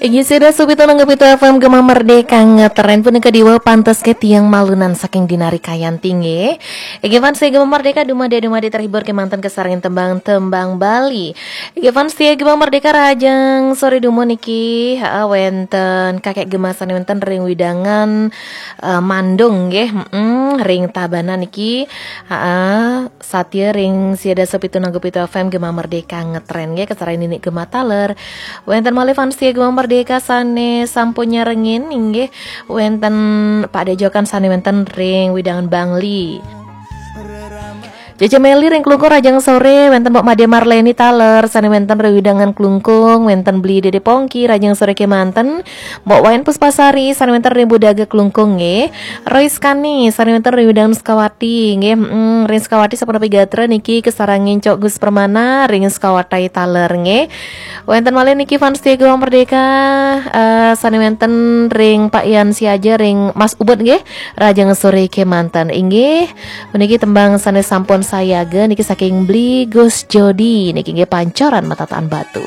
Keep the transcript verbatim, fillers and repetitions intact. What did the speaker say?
Inggih, sida supitu nanggu pitu F M Gema Merdeka ngetren punika diwa pantes ke tiang malunan saking dinari kayanti nggih. Inggih fans Gema Merdeka, dumadi-dumadi terhibur kemanten kesarengin tembang-tembang Bali. Inggih fans Gema Merdeka, rahajeng sore dumun niki, ha, wenten kakek Gema sane wenten ring wewidangan eh, Mandung nggih, mm, ring Tabanan niki. Ha, satia ring sida supitu nanggu pitu F M Gema Merdeka ngetren nggih, kesarengin Nini Gema taler. Wenten malih fans Gema Merdeka sane sampun nyarengin inggih, wenten Pak Dejokan sane wenten ring wewidangan Bangli. Jeje Meli ring Klungkung, rahajeng sore, wenten Mbok Made Marleni taler sane wenten ring wewidangan Klungkung, wenten Beli Dede Pongki, rahajeng sore kemanten, Mbok Wayan Puspasari sane wenten ring Budaga Klungkung nggih. Rois Kani sane wenten ring wewidangan Sukawati nggih. Mm, ring Sukawati sapunapi gatra niki kesarengin Cok Gus Permana ring Sukawati taler nggih. Wenten malih niki fans Gema Merdeka, eh, sane wenten ring Pak Yan Siaja ring Mas Ubud nggih. Rahajeng sore kemanten inggih. Puniki tembang sane sampun sayaga niki saking Beli Gus Jodi niki nggih, Pancoran Matataan Batu.